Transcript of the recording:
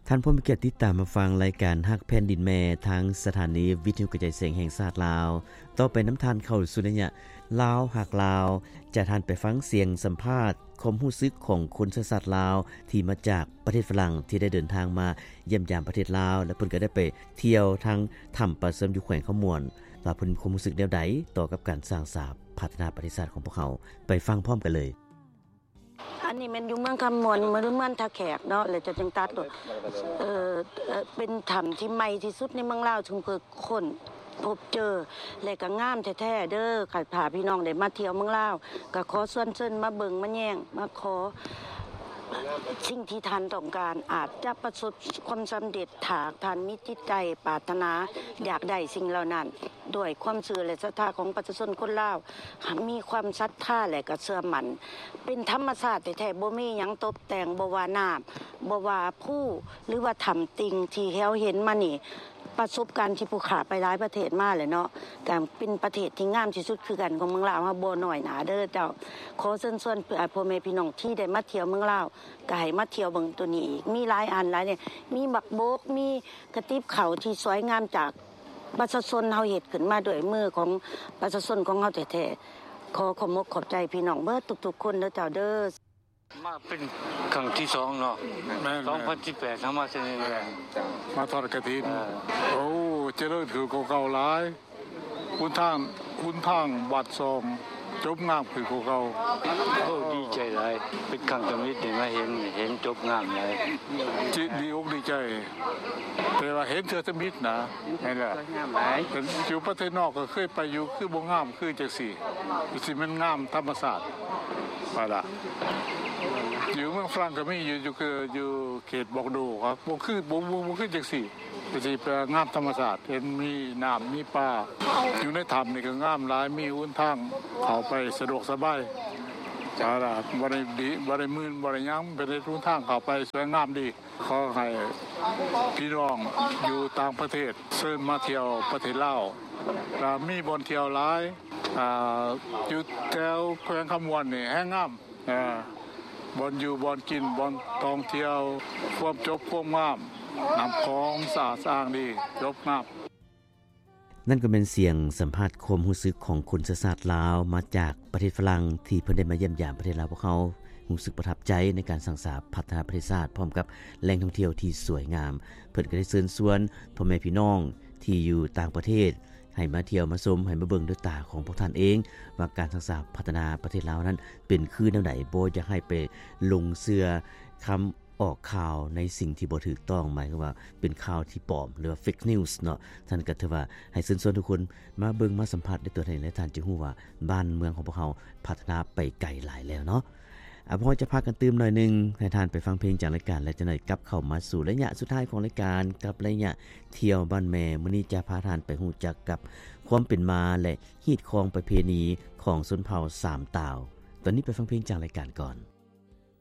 ທ່ານຜູ້ມີກຽດຕິດຕາມຮັບຟັງລາຍການຮັກແຜ່ນດິນແມ່ ທາງສະຖານີວິທະຍຸກະຈາຍສຽງແຫ່ງຊາດລາວ. ຕໍ່ໄປນຳທ່ານເຂົ້າສູ່ໄລຍະລາວຮັກລາວ, ຈະທ່ານໄປຟັງສຽງສຳພາດຄວາມຮູ້ສຶກຂອງຄົນເຊື້ອຊາດລາວ ທີ່ມາຈາກປະເທດຝຣັ່ງ ທີ່ໄດ້ເດີນທາງມາຢ້ຽມຢາມປະເທດລາວ ແລະ ເພິ່ນກໍໄດ້ໄປທ່ຽວທາງຖ້ຳປາເຊື່ອມຢູ່ແຂວງຄຳມ່ວນ ວ່າເພິ່ນມີຄວາມຮູ້ສຶກແນວໃດຕໍ່ກັບການສ້າງສາພັດທະນາປະເທດຊາດຂອງພວກເຮົາ. ໄປຟັງພ້ອມກັນເລີຍ. ອັນນີ້ແມ່ນຢູ່ເມືອງຄຳມ່ວນ ເມືອງ ເມືອງທ່າແຂກເນາະ ແລ້ວຈະຈັ່ງຕັດ ເອີ ເປັນຖ້ຳທີ່ໃໝ່ທີ່ສຸດໃນເມືອງລາວ ເຊິ່ງເພິ່ນຄົ້ນພົບເຈີ ແລະ ກໍງາມແທ້ໆເດີ. ຄັນຖ້າພີ່ນ້ອງໄດ້ມາທ່ຽວເມືອງລາວ ກໍຂໍຊວນເຊີນມາເບິ່ງມາແຍງ ມາຂໍສິ່ງທີ່ທ່ານຕ້ອງການ ອາດຈະປະສົບຄວາມສຳເລັດ ຖ້າທ່ານມີຈິດໃຈປາດຖະໜາຢາກໄດ້ສິ່ງເຫຼົ່ານັ້ນ ດ້ວຍຄວາມເຊື່ອ ແລະ ສັດທາຂອງປະຊາຊົນຄົນລາວ ມີຄວາມສັດທາ ແລະ ກໍເຊື່ອໝັ້ນ ເປັນທຳມະຊາດແທ້ໆ ບໍ່ມີຫຍັງຕົບແຕ່ງ ບໍ່ວ່ານ້ຳ ບໍ່ວ່າພູ ຫຼືວ່າຖ້ຳຕິ່ງທີ່ເຮົາເຫັນມານີ້. ປະສົບການທີ່ຜູ້ຂ້າໄປຫຼາຍປະເທດມາແລ້ວເນາະ ກໍເປັນປະເທດທີ່ງາມທີ່ສຸດຄືກັນຂອງເມືອງລາວເຮົາ ບໍ່ນ້ອຍໜ້າເດີເຈົ້າ. ຂໍເຊີນຊວນ ເອີ ພໍ່ແມ່ພີ່ນ້ອງທີ່ໄດ້ມາທ່ຽວເມືອງລາວ ກໍໃຫ້ມາທ່ຽວເບິ່ງໂຕນີ້ອີກ ມີຫຼາຍອັນຫຼາຍແນວ ມີໝາກບົກ ມີກະຕິບເຂົ້າທີ່ສວຍງາມຈາກ ປະຊາຊົນເຮົາເຮັດຂຶ້ນມາດ້ວຍມືຂອງປະຊາຊົນຂອງເຮົາແທ້ໆ. ຂໍຂອບອົກຂອບໃຈພີ່ນ້ອງເບິດທຸກໆຄົນເດີເຈົ້າເດີ. ມາເປັນຄັ້ງທີສອງເນາະ. ແມ່ນໆ ສອງພັນສິບແປດ ເຮົາມາເທື່ອນີ້ແຫຼະ ມາທອດກະຖິນ. ເອີ ໂອ້ ຈະເລີນຂຶ້ນກວ່າເກົ່າຫຼາຍ. ຫົນທາງ ຫົນທາງບາດຊອງຈົບງາມຂຶ້ນກວ່າເກົ່າ. ໂອ້ ດີໃຈຫຼາຍ ເປັນຄັ້ງທຳອິດໄດ້ມາເຫັນ ເຫັນຈົບງາມຫຼາຍ ຈິ ດີອົກດີໃຈ ແຕ່ວ່າເຫັນເທື່ອທຳອິດນະ. ແມ່ນແຫຼະ ສວຍງາມຫຼາຍ. ເປັນ ຢູ່ປະເທດນອກກໍເຄີຍໄປຢູ່ ຄືບໍ່ງາມຄືຈັ່ງຊີ້ ຄືຊິແມ່ນງາມທຳມະຊາດວ່າລະ. ຢູ່ເມືອງຝຣັ່ງກໍມີຢູ່ ຢູ່ ຄືຢູ່ເຂດບອກໂດ ກໍບໍ່ຄື ບໍ່ ບໍ່ ບໍ່ຄືຈັ່ງຊີ້ ກໍຊິເປັນງາມທຳມະຊາດ ເຫັນມີນ້ຳມີປາ. ຢູ່ໃນຖ້ຳນີ້ກໍງາມຫຼາຍ ມີຫົນທາງເຂົ້າໄປສະດວກສະບາຍ ວ່າລະ ບໍ່ໄດ້ດີ ບໍ່ໄດ້ມື່ນ ບໍ່ໄດ້ຫຍັງ ເປັນເຮັດຫົນທາງເຂົ້າໄປສວຍງາມດີ. ຂໍໃຫ້ພີ່ນ້ອງຢູ່ຕ່າງປະເທດເຊີນມາທ່ຽວປະເທດລາວ ກໍມີບ່ອນທ່ຽວຫຼາຍ. ອ່າ ຢູ່ແຖວແຂວງຄຳມ່ວນນີ້ແຮງງາມ ອ່າ ບ່ອນຢູ່ ບ່ອນກິນ ບ່ອນທ່ອງທ່ຽວ ຄວາມຈົບ ຄວາມງາມ ນ້ຳຂອງສະອາດສະອ້າງດີ ຈົບງາມ. ນັ້ນກໍແມ່ນສຽງສຳພາດຄວາມຮູ້ສຶກຂອງຄົນເຊື້ອຊາດລາວມາຈາກປະເທດຝຣັ່ງ ທີ່ເພິ່ນໄດ້ມາຢ້ຽມຢາມປະເທດລາວພວກເຮົາ, ຮູ້ສຶກປະທັບໃຈໃນການສ້າງສາພັດທະນາປະເທດຊາດ ພ້ອມກັບແຫຼ່ງທ່ອງທ່ຽວທີ່ສວຍງາມ. ເພິ່ນກໍໄດ້ເຊີນຊວນພໍ່ແມ່ພີ່ນ້ອງທີ່ຢູ່ຕ່າງປະເທດ ໃຫ້ມາທ່ຽວມາຊົມ ໃຫ້ມາເບິ່ງດ້ວຍຕາຂອງພວກທ່ານເອງ ວ່າການສ້າງສາພັດທະນາປະເທດລາວນັ້ນເປັນຄືແນວໃດ. ບໍ່ຢາກໃຫ້ໄປຫຼົງເຊື່ອຄຳ ອອກຂ່າວໃນສິ່ງທີ່ບໍ່ຖືກຕ້ອງ, ໝາຍຄວາມວ່າເປັນຂ່າວທີ່ປອມ ຫຼືວ່າ fake news ເນາະ. ທ່ານກໍຖືວ່າໃຫ້ເຊີນຊວນທຸກຄົນມາເບິ່ງມາສຳຜັດດ້ວຍຕົວເອງ ແລະ ທ່ານຈະຮູ້ວ່າບ້ານເມືອງຂອງພວກເຮົາພັດທະນາໄປໄກຫຼາຍແລ້ວເນາະ. ອາ ພວກເຮົາຈະພັກກັນຕື່ມໜ້ອຍໜຶ່ງ, ໃຫ້ທ່ານໄປຟັງເພງຈາກລາຍການ ແລະ ຈະໜ້ອຍກັບເຂົ້າມາສູ່ໄລຍະສຸດທ້າຍຂອງລາຍການ ກັບໄລຍະທ່ຽວບ້ານແມ່. ມື້ນີ້ຈະພາທ່ານໄປຮູ້ຈັກກັບຄວາມເປັນມາ ແລະ ຮີດຄອງປະເພນີຂອງຊົນເຜົ່າສາມຕາວ. ຕອນນີ້ໄປຟັງເພງຈາກລາຍການກ່ອນ.